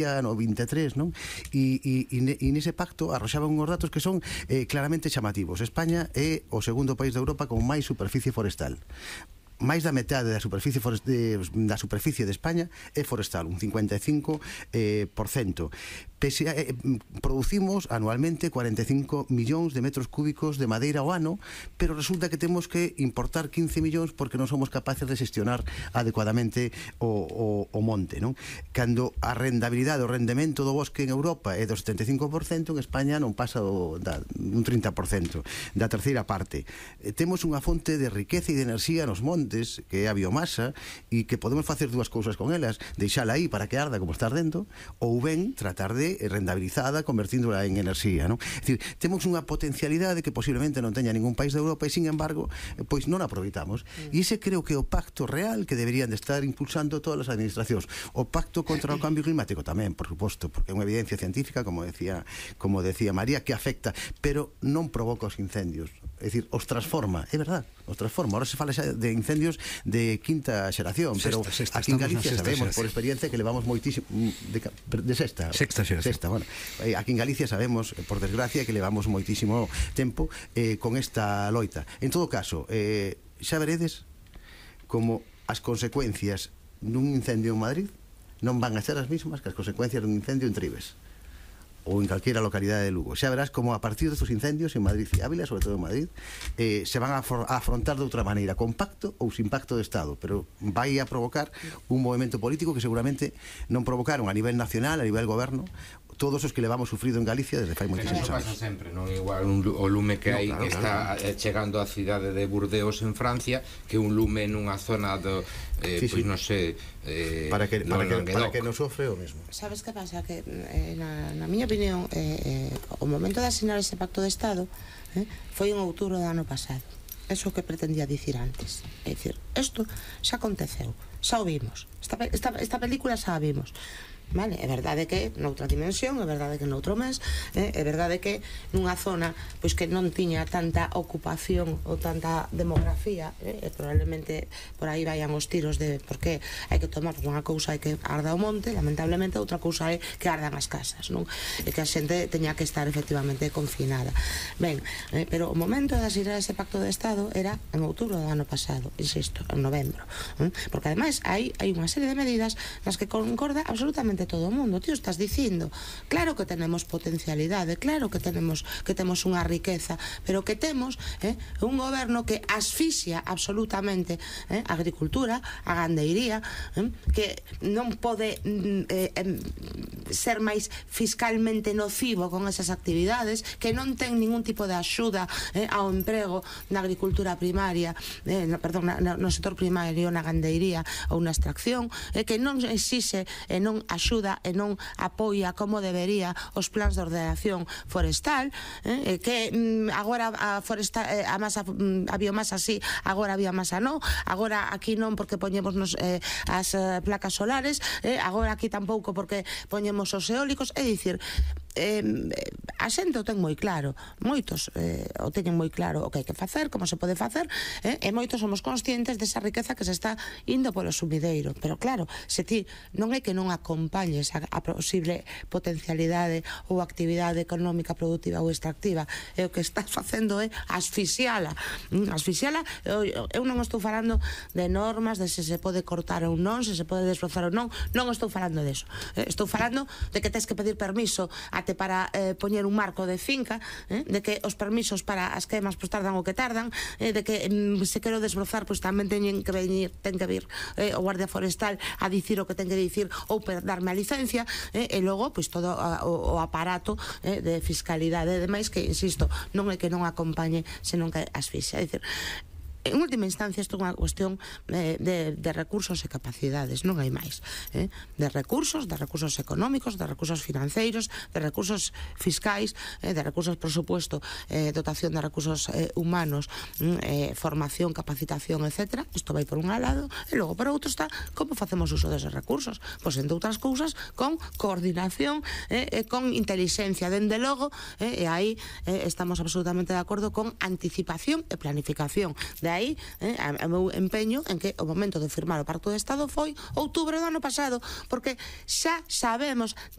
no 23, non? E nese pacto arroxaban unhos datos que son claramente chamativos. España é o segundo país de Europa con máis superficie forestal. Máis da metade da superficie de España é forestal, un 55%. Producimos anualmente 45 millóns de metros cúbicos de madeira ao ano, pero resulta que temos que importar 15 millóns porque non somos capaces de xestionar adecuadamente o monte, non? Cando a rendabilidade, o rendemento do bosque en Europa é do 75%, en España non pasa un 30%, da terceira parte. Temos unha fonte de riqueza e de enerxía nos montes, que é a biomasa, e que podemos facer dúas cousas con elas: deixala aí para que arda como está ardendo, ou ben tratar de rendabilizada convertíndola en enerxía, non? É dicir, temos unha potencialidade que posiblemente non teña ningún país de Europa e, sin embargo, pois non aproveitamos. E ese creo que é o pacto real que deberían de estar impulsando todas as administracións. O pacto contra o cambio climático tamén, por suposto, porque é unha evidencia científica, como decía María, que afecta, pero non provoca os incendios. É dicir, os transforma, é verdad, os transforma. Ahora se fala xa de incendios de quinta xeración, pero aquí en Galicia sabemos, por experiencia, que levamos moitísimo de sexta xeración. Bueno, aquí en Galicia sabemos, por desgracia, que levamos moitísimo tempo con esta loita. En todo caso, xa veredes como as consecuencias dun incendio en Madrid non van a ser as mesmas que as consecuencias dun incendio en Tribes ou en calquera localidade de Lugo. Xa verás como a partir destos incendios en Madrid e Ávila, sobre todo en Madrid, se van a afrontar de outra maneira, con pacto ou sin pacto de Estado, pero vai a provocar un movimento político que seguramente non provocaron a nivel nacional, a nivel goberno, todos os que levamos sufrido en Galicia desde fai moitísimos anos. Pasa sempre, non igual o lume que hai que está chegando á cidade de Burdeos en Francia que un lume nunha zona do pois non sei, para que non sofre o mesmo. Sabes que pasa? Que na miña opinión o momento de asinar ese pacto de Estado foi en outubro do ano pasado. Eso que pretendía dicir antes. É dicir, isto xa aconteceu, xa o vimos, esta película xa a vimos. Vale, é verdade que noutra dimensión, é verdade que noutro mes, é verdade que nunha zona pois que non tiña tanta ocupación ou tanta demografía, probablemente por aí vayan os tiros de por que hai que tomar unha cousa é que arda o monte, lamentablemente outra cousa é que ardan as casas, non? E que a xente teña que estar efectivamente confinada. Ben, pero o momento de asinar ese pacto de Estado era en outubro do ano pasado, insisto, en novembro, porque ademais hai unha serie de medidas nas que concorda absolutamente todo o mundo. Tío, estás dicindo, claro que tenemos potencialidade, claro que temos unha riqueza, pero que temos un goberno que asfixia absolutamente a agricultura, a gandeiría, que non pode ser máis fiscalmente nocivo con esas actividades, que non ten ningún tipo de axuda ao emprego na agricultura primaria, no sector primario, na gandeiría ou na extracción, que non exixe e non axuda e non apoia como debería os plans de ordenación forestal, que agora a biomasa sí, agora a biomasa non, agora aquí non porque poñemos as placas solares, agora aquí tampouco porque poñemos os eólicos. É dicir, a xente o ten moi claro, moitos o teñen moi claro o que hai que facer, como se pode facer, e moitos somos conscientes desa riqueza que se está indo polo sumideiro, pero claro, se ti non é que non acompañes a posible potencialidade ou actividade económica productiva ou extractiva, e o que estás facendo é asfixiala. Eu non estou falando de normas, de se pode cortar ou non, se pode desbrozar ou non estou falando deso, estou falando de que tens que pedir permiso até para poñer un marco de finca, de que os permisos para as queimas pois tardan o que tardan, de que se quero desbrozar pois tamén ten que vir o Guardia Forestal a dicir o que ten que dicir ou darme a licencia, e logo pois todo o aparato de fiscalidade e demais que, insisto, non é que non acompañe, senón que asfixia. É dicir, en última instancia isto é unha cuestión de recursos e capacidades, non hai máis, de recursos económicos, de recursos financeiros, de recursos fiscais, de recursos, por supuesto, dotación de recursos humanos, formación, capacitación, etc. Isto vai por un lado, e logo por outro está como facemos uso deses recursos, pois entre outras cousas con coordinación e con inteligencia, dende logo, e aí estamos absolutamente de acordo con anticipación e planificación. De aí aí o meu empeño en que o momento de firmar o Pacto de Estado foi outubro do ano pasado, porque xa sabemos